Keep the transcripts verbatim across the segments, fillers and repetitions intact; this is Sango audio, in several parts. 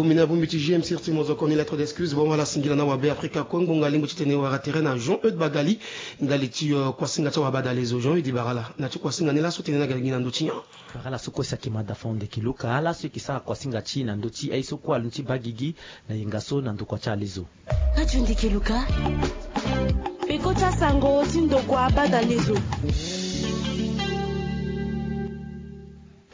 Bongbi na bongbi ti G M C R T, mo zo koni lettre d'excuse. Bon, wala singila na wabe Afrika Kongo, ngbonga lingbi titene wara tere na Jean Eudes Bagali, ndali ti, euh, kuasinga ti awabadalezo. Jean Eudes, bara ala na ti kuasinga ni laso tene na gagi na ndö ti nyen? Bara ala so kue si ayeke mada fao ndeke luka ala so eke sara kuasinga ti e na ndö ti aye so kue alondo ti baa gigi na yenga so na ndokua ti alezo. Radio Ndeke Luka, peko ti asango ti ndokua abadalezo.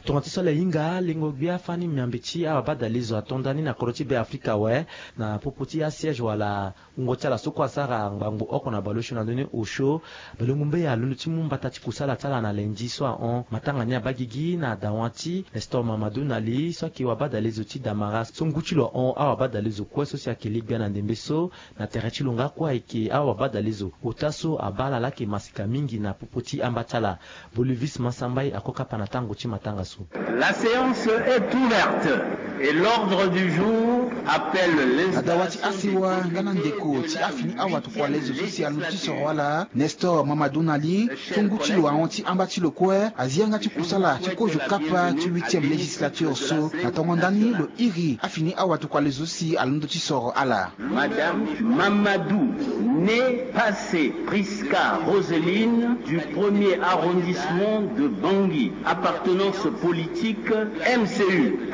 Tonga ti so ala hinga, lengo gbia fani miambe ti awabadalezo ato ndani na kodro ti Be Afrika awe, na popo ti asiège wala wungo ti ala so kue asara ngbangbo oko na baleosio na ndö ni osio. Balongo mbeya alondo ti mu mbata ti kusala ti ala na lendi so ahon matanga ni abaa gigi na dawa ti Nestor Mamadou Nali so ayeke wabadalezo ti Damara so ngu ti lo ahon awabadalezo kue so si ayeke le gbia na ndembe so. Na tere ti lo nga kue ayeke awabadalezo ota so abaa ala laa ayeke masika mingi na popo ti amba ti ala. Bolivis Masambai ako kapa na tango ti matanga so. La séance est ouverte et l'ordre du jour appelle les... Na dawa ti asewa nga na ndeko ti afini awatokua lezo so si alondo ti soro ala, Nestor Mamadou Nali, so ngu ti lo ahon ti amba ti lo kue azi yanga ti kusala ti kozo kapa ti huitième législature so. Na tongo ndani lo iri afini awatokua lezo so si alondo ti soro ala. Madame Mamadou, née Passé Prisca Roseline du premier arrondissement de Bangui, appartenance politique M C U.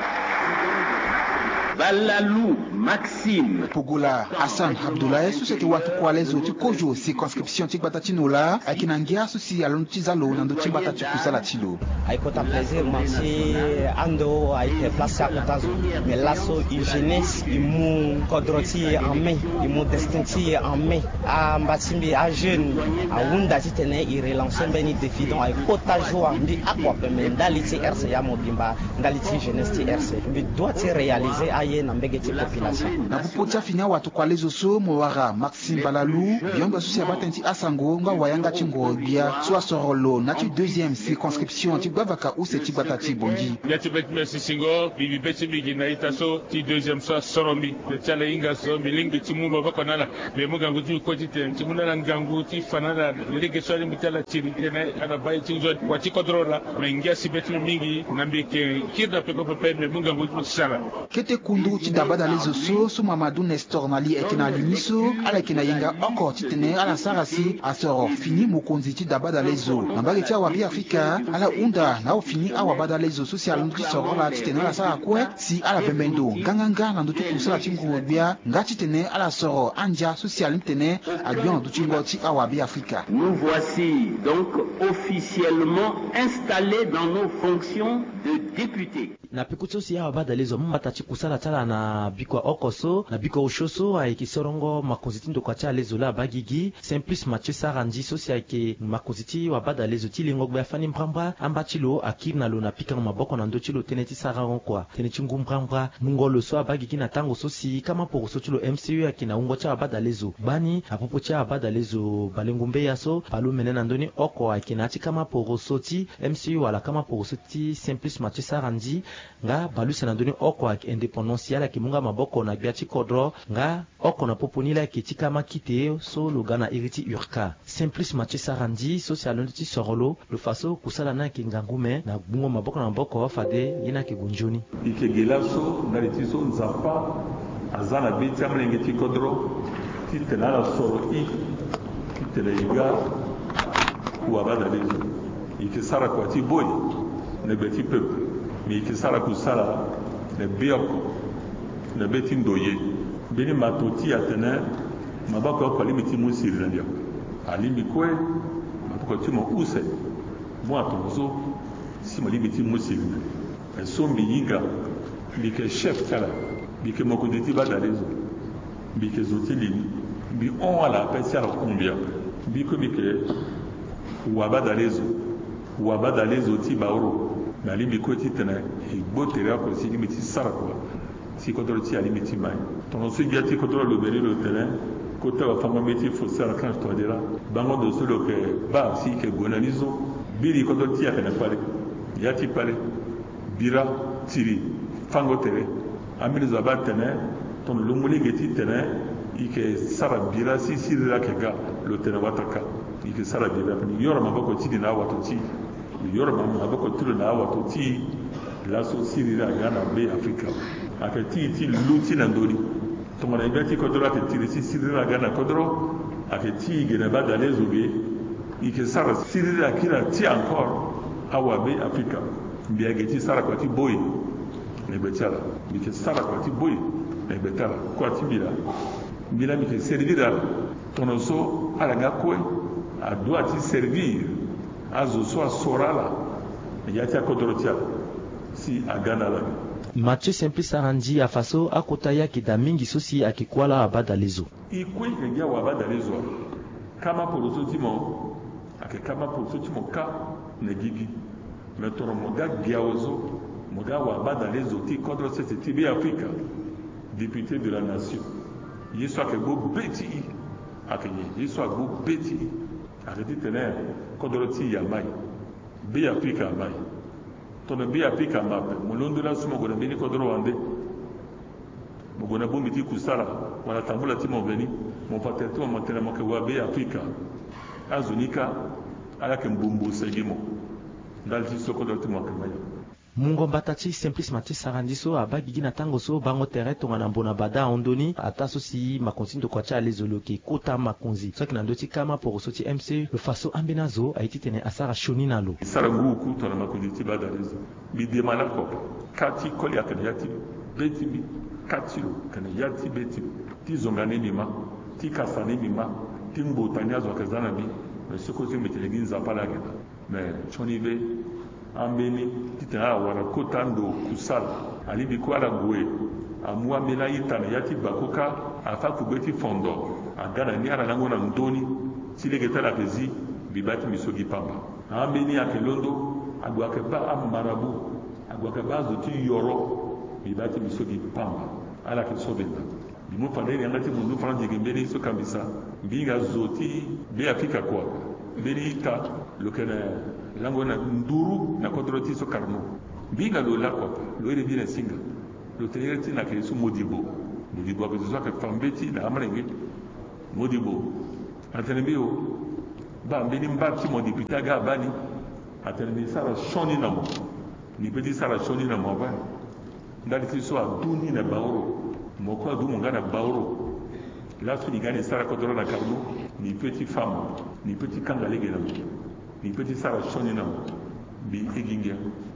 Balalou Maxime. Pogola Hassan Abdoulaye so si ayeke watokua lezo ti kozo circonscription ti gbata ti Nola ayeke na ngia so si alondo ti za lo na ndö ti mbata ti kusala ti lo. Ayeke kota plaisir mo si ando ayeke place ti akota zo. Mais laso e jeunesse e mu kodro ti e en main, e mu destin ti e en main. Amba ti mbi ajeune ahunda titene e relancer mbeni défi, donc ayeke kota joie mbi oko ape, mais ndali ti R C A mobimba, ndali ti jeunesse ti R C A mbi doit ti réaliser aye na mbege ti population. Na popo ti afini awatokua lezo so mo wara Maxime Balalou, biongbi so si abaa tënë ti asango nga wayanga ti ngoro gbia so asoro lo na ya ti deuxième circonscription ti gbavaka use ti gbata ti Bangui. Ya ti be ti mbi asi singo, mbi bi be ti mbi gi na ita so ti deuxième so asoro mbi. Be ti ala hinga so mbi lingbi ti mu maboko na ala. Mbi mu ngangu ti mbi kue titene ti mu na ala ngangu ti fa na ala lege so alingbi ti ala tiri tene ala baa ye ti nzoni wa ti kodro laa. Me ngia si be ti mbi mingi na mbi yeke kiri na peko pepe, mbi mu ngangu ti mbi ti sara. Kete kundu ti dabadalezo so, so Mamadou Nestor Nali ayeke na alimi so, ala yeke na yenga oko titene ala sara si asoro fini mokonzi ti dabadalezo. Na mbage ti awabe Afrika, ala hunda na afini awabadalezo so si alondo ti soro ala titene ala sara kue si ala bembe ndo nganganga na ndö ti kusala ti ngoro gbia, nga titene ala soro andia so si alingbi titene agbia na ndö ti ngo ti awabe Afrika. Nous voici donc officiellement installés dans nos fonctions de députés. Na peko ti so si awabadalezo amu mbata ti kusala ti ala na bikua oko so na bikua osio so, ayeke sorongo makonzi ti ndokua ti alezo laa abaa gigi, Simplice Mathieu Sarandji so si ayeke makonzi ti wabadalezo ti lengo gbia fani mbrambra amba ti lo akiri na lo na pikango maboko na ndö ti lo tënë ti sarango kua tënë ti ngu mbrambra. Mungo lo so abaa gigi na tango so si kama poroso ti lo M C U ayeke na wungo ti awabadalezo gbani na popo ti awabadalezo balengo mbeya so bale omene na ndö ni oko ayeke na ya ti kama poroso ti M C U wala kama poroso ti Simplice Mathieu Sarandji, nga bale use na ndö ni oko ayeke indépendance, ala yeke mu nga maboko na gbia ti kodro, nga oko na popo ni laa ayeke ti kama kite so lo ga na iri ti URCA. Simplice Mathieu Sarandji so si alondo ti soro lo, lo fa so kusala ni ayeke ngangu me na gbungo maboko na maboko fade ye ni ayeke gue nzoni. E yeke ge laso ndali ti so Nzapa aza na be ti amolenge ti kodro titene ala soro e titene e ga wabadalezo. E yeke sara kua ti boi na gbe ti peuple, me e yeke sara kusala na be oko na be ti ndoye. Mbeni mato ti e atene maboko oko alingbi ti mu siriri na ndia. Alingbi kue maboko ti mo use. Mo atongo so si mo lingbi ti mu siriri na ndia. So mbi hinga, mbi yeke chef ti ala, mbi yeke mokonzi ti badalezo, mbi yeke zo ti li ni, mbi hon ala ape si ala hon mbi ape. Mbi kue mbi yeke wabadalezo, wabadalezo ti baoro. Me alingbi kue titene e gbo tere oko si e lingbi ti sara kua si kodro ti e alingbi ti mai. Tongaso gbia ti kodro alobe ni lo tene kota wafango-mbeti Faustin Archange Touadéra, bango ndo so lo yeke baa si e yeke gue na ni so, biri kodro ti e ayeke na kpale. Ya ti kpale, bira, tiri, fango tere. Ambeni zo abaa tene tongana lo mu lege titene e yeke sara bira si siriri ayeke ga, lo tene wataka. E yeke sara bira ape, ni yoro maboko ti ni na awato ti e. Lo yoro ma- maboko ti lo na awato ti e. Laso siriri aga na Be Afrika. Ayeke ti e ti luti na ndö ni. Tongana e gbia ti kodro ayeke tiri ti siriri aga na kodro, ayeke ti e ge na badalezo ge. E yeke sara siriri akiri ati encore awabe Afrika. Mbi ayeke ti sara kua ti boi na gbe ti ala. Mbi yeke sara kua ti boi na gbe ti ala. Kua ti mbi laa, mbi laa mbi yeke servir ala. Tongana so ala nga kue, adua ti servir azo so asoro ala na ya ti akodro ti ala si aga na ala ge. Mathieu Simplice Sarandji afa so akota ye ayeke daa mingi so si ayeke kuâ laa abadalezo. E kue e yeke gi awabadalezo. Kama poroso ti mo ayeke kama poroso ti mo kâ na gigi. Me tongana mo ga gi awe so, mo ga awabadalezo ti kodro sese ti Beafrika, député de la nation, ye so ayeke gbu be ti e. Ayeke nyen? Ye so agbu be ti e ayeke titene kodro ti e amai. Beafrika amai. Tongana Beafrika ama ape, mo londo laso mo gue na mbeni kodro wande, mo gue na bongbi ti kusala wala tambula ti mo veni, mo fa tere ti mo, mo tene mo yeke wa Beafrika. Azo ni kâ ala yeke mbumbu segi mo. Ndali ti so kodro ti mo ayeke mai. Mungo mbata ti Simplice Mathieu Sarandji so abaa gigi na tango so bango tere tongana mbo na bada ahon ndö ni, ataa so si makonzi ti ndokua ti alezo lo yeke kota makonzi so ayeke na ndö ti kama poroso ti M C, lo fa so ambeni azo aye titene asara sioni na lo. E sara ngu oku tongana makonzi ti badalezo. Mbi dema lakue ape. Kâ ti koli ayeke na ya ti be ti mbi. Kâ ti lo ayeke na ya ti be ti lo. Ti zonga ni mbi ma, ti kasa ni mbi ma, ti ngbota ni azo ayeke za na mbi. Me soko ti mbi tene gi Nzapa laa ayeke daa. Me sioni be ambeni titene ala wara kota ndo kusala. Alingbi kue ala gue, amu ambeni a-ita na ya ti bako kâ, afa kugbe ti fondo, aga na ni, ala lango na ndö ni. Ti lege ti ala ayeke zi, mbi baa ti mbi so gi pamba. Ambeni ayeke londo, ague ayeke baa amarabu, ague ayeke baa azo ti yoro, mbi baa ti mbi so gi pamba. Ala yeke so mbi nda. Mbi mu fade ni yanga ti mundu France gi mbeni so kambisa. Mbi hinga zo ti Beafrika kua. Mbeni ita lo yeke na lango na nduru na kodro ti so Carnot. Mbi hinga lo lakue, lo iri mbi na singa. Lo tene iri ti na yeke so Modibo. Modibo ayeke zo so ayeke fa mbeti na amolenge. Modibo atene mbi o, baa mbeni mba ti mo député aga abaa ni. Atene mbi sara sioni na mo. Mbi pe ti sara sioni na mo ape. Ndali ti so adu ni na baoro. Mo kue adu mo nga na baoro. Laso mbi ga ni sara kodro na Carnot. Mbi pe ti fa mo. Mbi pe ti kanga lege na mo. Mbi pe ti sara sioni na mo. Mbi igi ngia.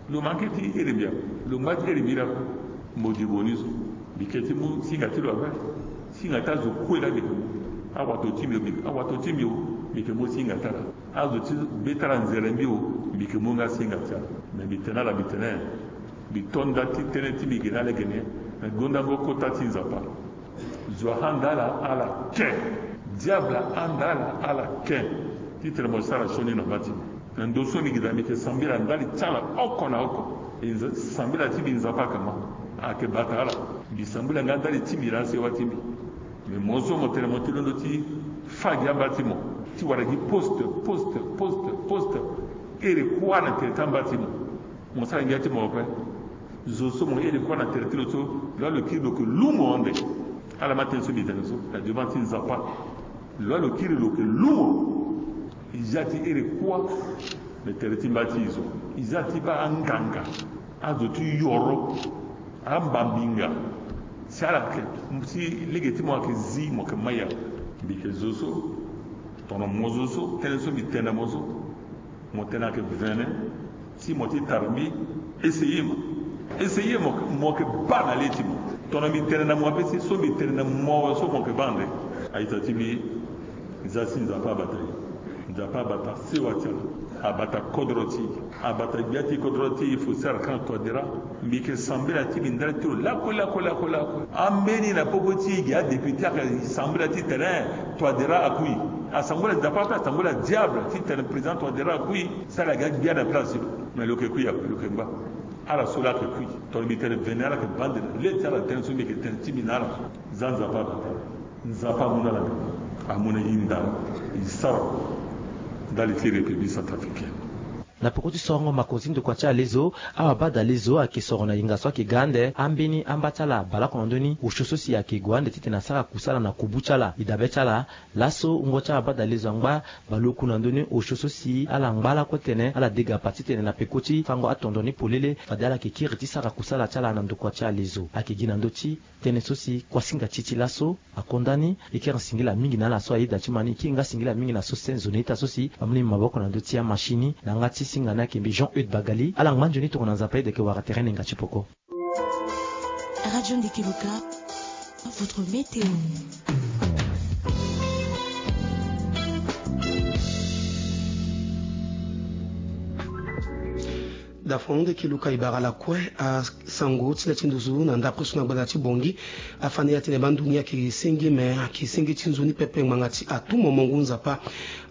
Lo manke ti iri mbi a. Lo ngba ti iri mbi laa. Modibo ni so. Mbi ke ti mu singa ti lo ape. Singa ti azo kue laa mbi ke mu. Awato ti mbi o, mbi, awato ti mbi o, mbi ke mu singa ti ala. Azo ti be ti ala nzere mbi o, mbi ke mu nga singa ti ala. Me mbi tene ala, mbi tene, mbi to nda ti tënë ti mbi ge na ala ge ni. Me gondango kota ti Nzapa. Zo ahanda ala ala ke. Diable ahanda ala ala ke. Titene mo sara sioni na mba ti mo. Na ndo so mbi gi daa mbi yeke sambela ndali ti ala oko na oko. E nza-, sambela ti mbi Nzapa akama. Ayeke bata ala. Mbi sambela nga ndali ti mbi na asewa ti mbi. Me mo so mo tene mo ti londo ti fa gi amba ti mo ti wara gi poste, poste, poste, poste. Iri kuâ na tere ti amba ti mo. Mo sara ngia ti mo ape. Zo so mo iri kuâ na tere ti lo so, lo a lo kiri lo yeke lumo ande. Ala ma tënë so mbi tene so na devant ti Nzapa. Lo a lo kiri lo yeke lumo. E za ti iri kuâ na tere ti mba ti e so. E za ti baa anganga, azo ti yoro, ambambinga. Si ala yeke, si lege ti mo ayeke zi, mo yeke mai ape. Mbi yeke zo so, tongana mo zo so, tënë so mbi tene na mo so. Mo tene ayeke vene, si mo ti tara mbi, essayer mo. Essayer mo, mo yeke baa na le ti mo. Tongana mbi tene na mo ape si so mbi tene na mo so mo yeke baa ande. A-ita ti mbi, za si Nzapa abata e. Nzapa abata sewa ti ala. Abata kodro ti e. Abata gbia ti kodro ti e, Faustin Archange Touadéra. Mbi yeke sambela ti mbi ndali ti lo lakue, lakue, lakue, lakue. Ambeni na popo ti e gi adéputé ayeke sambela titene Touadéra akui. Asambela Nzapa ape, asambela diable titene président Touadéra akui. Si ala ga gbia na place ti lo. Me lo yeke kui ape, lo yeke ngba. Ala so laa ayeke kui. Tongana mbi tene vene ala yeke baa ande na le ti ala, tënë so mbi yeke tene ti mbi na ala. Za Nzapa abata. Nzapa amu na ala. Amu na e nda. E sara ndali ti République centrafricaine. Na peko ti sorongo makonzi ndokua ti ala lezo, awabadalezo ayeke soro na yenga so ayeke ga ande ambeni amba ti ala baleoko na ndö ni osio so si ayeke gue ande titene asara kusala na kubu ti ala. E dabe ti ala, laso wungo ti awabadalezo angba baleoku na ndö ni osio so si ala ngba lakue tene ala degapa titene na peko ti fango atondo ni polele fade ala yeke kiri ti sara kusala ti ala na ndokua ti ala lezo. Ayeke gi na ndö ti tënë so si kuasinga ti e ti laso akonda ni. E kiri singila mingi na ala so ayeda ti ma ni, e kiri nga singila mingi na so se nzoni ita so si ambeni maboko na ndö ti amashini na yanga ti singa ni ayeke mbi Jean Eude Bagali. Ala ngba nzoni tongana Nzapa ayeda ayeke wara tere nenga ti peko. Radio Ndeke Luka, votre météo. Dafon Ndeke Luka, e bara lakue asango ti le ti nduzu na ndapre so na gbanda ti Bongi. Afani atene bandu ni ayeke senge, me ayeke senge ti nzoni pepe ngbanga ti atou momo ngu Nzapa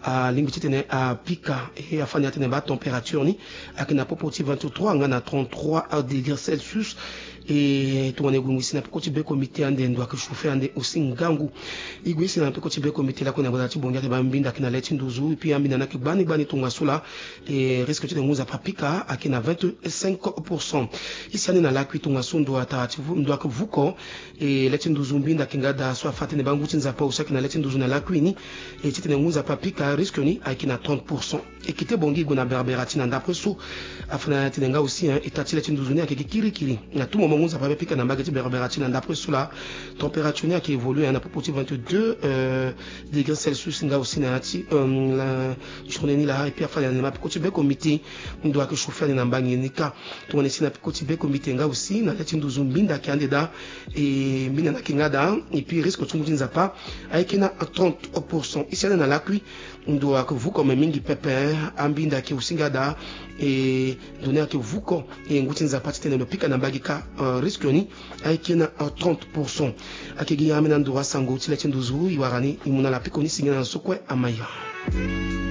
alingbi titene apika. E afani atene batempérature ni ayeke na popo ti vingt-trois nga na trente-trois degrés Celsius. E tongana e gue ngoi si na peko ti be komite ande ndo ayeke chauffer ande aussi ngangu. E gue si na peko ti be komite lakue na gbanda ti Bongi ayeke baa mbinda ayeke na le ti nduzu, et puis ambinda ni ayeke gbani gbani tongaso laa. E risque titene ngu Nzapa apika ayeke na vingt-cinq pour cent. E si ande na lakui tongaso ndo atara ti vu, ndo ayeke vuko. E le ti nduzu mbinda ayeke nga daa so afa atene bangu ti Nzapa aussi ayeke na le ti nduzu na lakui ni. E titene ngu Nzapa apika risque ni ayeke na trente pour cent. E kete Bongi e gue na Berbera ti na ndapre so. Afa na tene nga aussi, hein, eta ti le ti nduzu ni ayeke gi kirikiri. Na tout moment ngu Nzapa abe apika na mbage ti Berbera ti na ndapre so laa. Température ni ayeke évoluer, hein, na popo ti vingt-deux, euh, degrés Celsius nga aussi na ya ti, euh, la journée ni laa. Et puis afa na peko ti be komite ndo ayeke chauffer ande na mbage ni kâ. Tongana e si na peko ti be komite nga aussi na le ti nduzu mbinda ayeke ande daa. E mbinda ni ayeke nga daa. Et puis risque ti ngu ti Nzapa ayeke na trente pour cent. E si ande na lakui ndo ayeke vuko me mingi pepe, ambinda ayeke aussi nga daa. E ndo ni ayeke vuko. E ngu ti Nzapa titene lo pika na mbage kâ, euh, risque ni ayeke na, euh, trente pour cent. Ayeke gi ambeni ando asango ti le ti nduzu e wara ni, e mu na ala peko ni si ngia na so kue amaya.